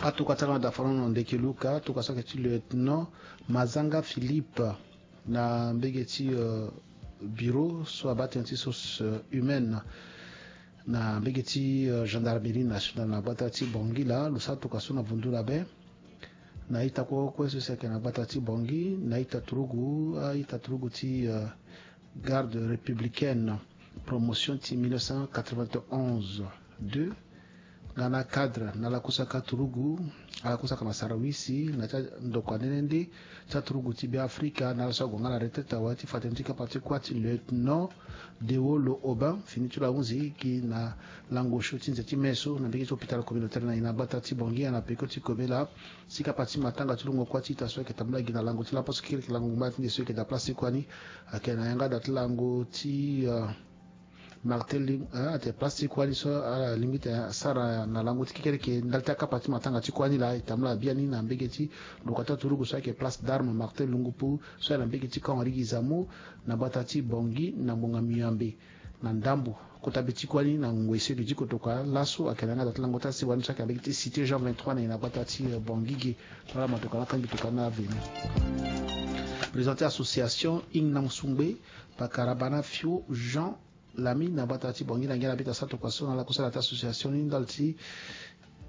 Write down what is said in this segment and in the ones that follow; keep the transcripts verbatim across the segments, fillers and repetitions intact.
Atokua ti ala na daforono ndeke luka, atokua so ayeke ti lieutenant Mazanga Philippe, na mbege ti, euh, bureau so abaa tënë ti source, euh, humaine na mbege ti, euh, gendarmerie nationale na gbata ti Bangui laa. Lo sara tokua so na vundu na be na ita kue kue so si ayeke na gbata ti Bangui, na ita turugu, a ita turugu ti, euh, garde républicaine, promotion ti mille neuf cent quatre-vingt-onze deux, nga na cadre na ala kue so aka turugu, ala kue so aka na sarawisi na ti andokua nde nde nde ti aturugu ti Beafrika, na ala so ague nga na retraite awe, ti fa tënë ti kapa ti kuâ ti lieutenant Dewolo Aubin, fini ti lo ahunzi gi na lango osio ti nze ti me so na mbege ti hôpital communautaire na iri na gbata ti Bangui, na peko ti kobe laa. Si kapa ti matanga ti lungo kuâ ti ita so ayeke tambula gi na lango ti laposo kekereke, lango ngbanga ti nde so ayeke daa place ti kuâ ni, ayeke na yanga daa ti lango ti, euh, Martin Lim-, eh, ate place ti kuâ ni so ala lingbi ti sara na lango ti kekereke ndali ti akapa ti matanga ti kuâ ni laa. E tambula biani na mbege ti ndokua ti aturugu so ayeke place d'armes Martin Lungupu so ayeke na mbege ti camp Henri Guizamo na gbata ti Bangui na ngbonga miambe na ndambo kota be ti kuâ ni na ngoi so e ke ti kotokua laso. Ayeke na yanga daa ti lango ti asewa ni so ayeke na mbege ti cité Jean vingt-trois na iri na gbata ti, eh, Bangui ge. Tongana matokua na akangbi tokua ni na aveni. Président ti association Ingnam Sungbe, pakara Bana Fio Jean Lami na gbata ti Bangui na ngia na bita sa tokua so na ala kue so ala ti association ni ndali ti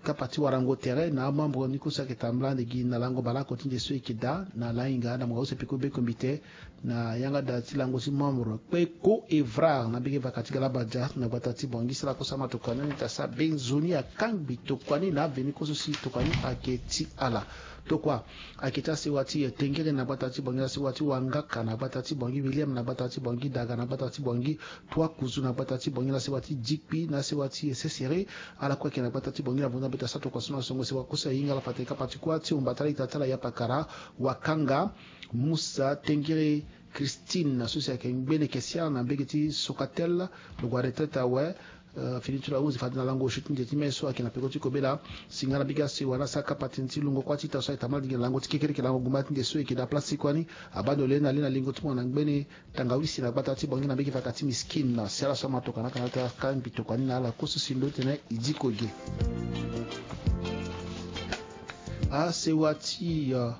kapa ti warango tere na amembre ni kue so ayeke tambula ande gi na lango baleoko ti nde so e yeke daa na lahinga na mungo use peko be kombite na yanga daa ti lango ti membre Kpeko Evrard na mbege vaka ti Galabadia na gbata ti Bangui. Si ala kue so amatoka ni ita sa be nzoni akangbi tokua ni na aveni kue so si tokua ni ayeke ti ala. Tokua ayeke ti asewa ti, eh, Tengere na gbata ti Bangui, asewa ti Wangaka na gbata ti Bangui, William na gbata ti Bangui, Daga na gbata ti Bangui, Tuakuzu na gbata ti Bangui, na sewa ti Dikpi, na sewa ti Sesere, ala kue ayeke na gbata ti Bangui na vundu na beta sa tokua so na songo sewa kue so ahinga ala fa tene kapa ti kuâ ti omba ti ala ita ti ala ya pakara Wakanga Musa Tengere Christine, so si ayeke ngbene kesia na mbege ti Socatel, lo gue retraite awe. Euh, fini ti lo ahunzi fade na lango osio ti nze ti me so ayeke na peko ti kobela. Si nga na mbege asewa na asara kapa tënë ti lungo kuâ ti ita so ayeke tambula gi na lango ti kekereke, lango gumba ti nde so e yeke daa place ti kuâ ni, abaa ndo le na le na lingo ti mo na ngbene tangawisi na gbata ti Bangui na mbege vaka ti Miskine. Si ala so amatoka na aka na ala ti akangbi tokua ni na ala kue so si ndo tene e diko ge. Asewa ti, euh,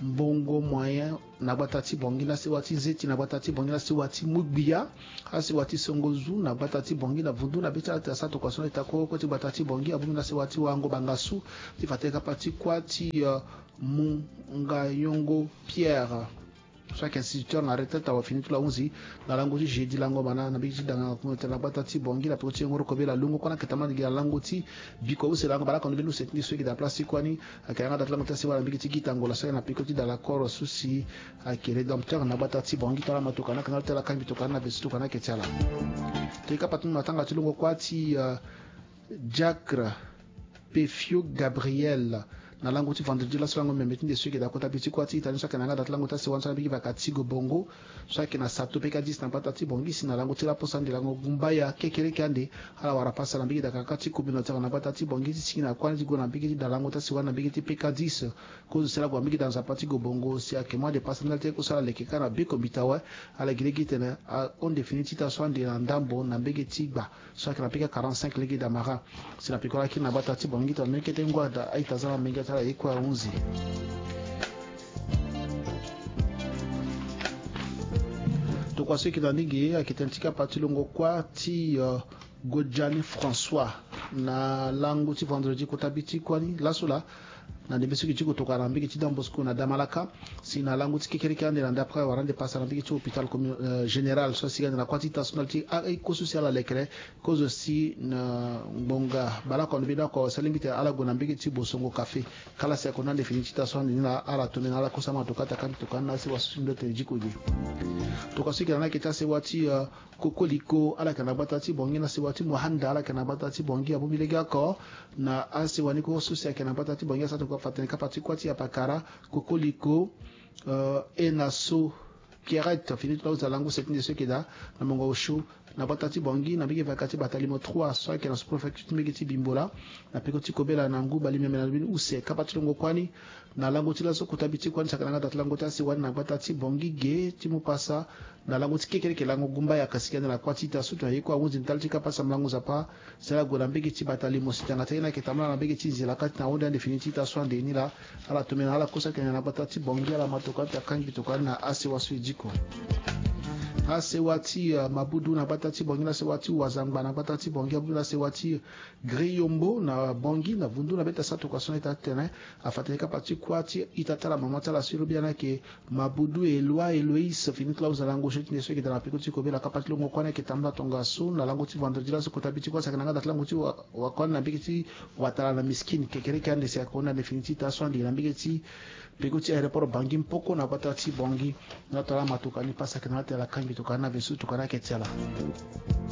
Mbongo Moyen na gbata ti Bangui, na sewa ti Zeti na gbata ti Bangui, na sewa ti Mugbia, asewa ti Songozu na gbata ti Bangui, na vundu na be ti ala ti asara tokua so na ita kue kue ti gbata ti Bangui, abongbi na sewa ti Wango Bangasu, ti fa tene kapa ti kuâ ti, euh, Mungayongo Pierre. So ayeke instituteur na retraite awe, fini ti lo ahunzi na lango ti jeudi lango mana na mbege ti danga na gbata ti Bangui na peko ti yongoro kobela. Lungo kue na ayeke tambula gi na lango ti bikua use lango baleoko na mbeni use ti nde so e yeke daa place ti kuâ ni. Ayeke yanga daa ti lango ti asewa na mbege ti Gita Ngola so ayeke na peko ti dala koro so si ayeke Rédempteur na gbata ti Bangui. Tongana amatoka na aka na ala ti ala akangbi tokua ni na be so tokua ni ayeke ti ala. Tene kapa ti matanga ti lungo kuâ ti, euh, Diacre Pefio Gabriel na lango ti vendredi laso lango meme ti nde so e yeke daa kota be ti kuâ ti ita ni so ayeke na yanga daa ti lango ti asewa ni so na mbege vaka ti Gobongo so ayeke na sato peka dix na gbata ti Bangui. Si na lango ti laposo ande lango gumbaya kekereke ande, ala wara pasa na mbege dakaka ti communautaire na gbata ti Bangui ti sigi na kuâ ni ti gue na mbege ti daa lango ti asewa ni na mbege ti peka dix. Kozo si ala gue na mbege daa nzapa ti Gobongo si ayeke mu ande pasa ndali ti ye kue so ala leke kâ na be kombita awe. Ala gi lege titene ahon nde fini ti ita so ande na ndambo na mbege ti gba so ayeke na pika quarante-cinq lege damara. Si na peko lakiri na gbata ti Bangui tongana mbeni kete ngu ada a-ita za na menge ti ala ye kue ahunzi. Tokua so e yeke na ndingi ayeke tënë ti kapa ti longo kuâ ti, euh, Godjani François na lango ti vendredi kota be ti kuâ ni laso laa. Na ndembe so e yeke ti kotokua na mbege ti Don Bosco na Damalaka. Si na lango ti kekereke ande na ndapre awara ande pasa na mbege ti hôpital commu-, euh, général so asi ga ande na kuâ ti ita so ndali ti aye kue so si ala lekere. Kozo si na ngbonga baleoko ande mbeni oko si alingbi tene ala gue na mbege ti Bosongo Café. Kala si akonda ande fini ti ita so ande ni laa ala tone na ala kue so amatoka ti akangbi tokua ni na asewa so si ndo tene diko ge. Tokua so e yeke na ni ayeke ti asewa ti, euh, Kokoliko, ala yeke na gbata ti Bangui, na sewa ti Muanda, ala yeke na gbata ti Bangui, abongbi lege oko na asewa ni kue so si ayeke na gbata ti Bangui, asara tokua fa tene kapa ti kuâ ti apakara Kokoliko, euh, e na so Pierrette, fini ti lo ahuza lango use ti nde so e yeke daa na mongo osio na gbata ti Bangui na mbege vaka ti bata limo trois so ayeke na sous-préfecture ti mbege ti Bimbola, na peko ti kobela na ngu bale miombe na lobeni use. Kapa ti longo kuâ ni na lango ti laso kota bi ti kuâ ni saka na nga da ti lango ti asewa ni na gbata ti Bangui ge ti mu pasa na lango ti kekereke lango gumba ya kasi kende na kuâ ti ita so to aye kue ahunzi ndali ti kapa ti sambela ngu nzapa. Si ala gue na mbege ti bata limo si tanga ti aye ni ayeke tambula na mbege ti nzila kâ ti na ahunde ande fini ti ita so ande ni laa. Ala tombe na ala kosa kende na gbata ti Bangui, ala ma tokua ti akangi tokua ni na asewa so e diko. Asewa ti, eh, Mabudu na gbata ti Bangui, na asewa ti Wazangba na gbata ti Bangui, abudu na asewa ti Griyombo na Bangui, na vundu na beta sa tokua so na ita ti tene afa tene kapa ti kuâ ti ita ti ala mama ti ala so e lobi ya ni ayeke Mabudu Eloi Eloïs, fini ti la huza lango so ti nde so e yeke daa na peko ti kobela. Kapa ti longo kuâ ni ayeke tambula tongaso na lango ti vendredi laso kota bi ti kuâ saka na nga da ti lango ti wa, wa kuâ ni na mbege ti watala na Miskine kekereke ande si ayeke hunda ande fini ti ita so ande na mbege ti peko ti aéroport Bangui Mpoko na gbata ti Bangui. Na to ala ma tokua ni pasa ayeke na ala ti ala kangi tokua ni na veso tokua ni ayeke ti ala.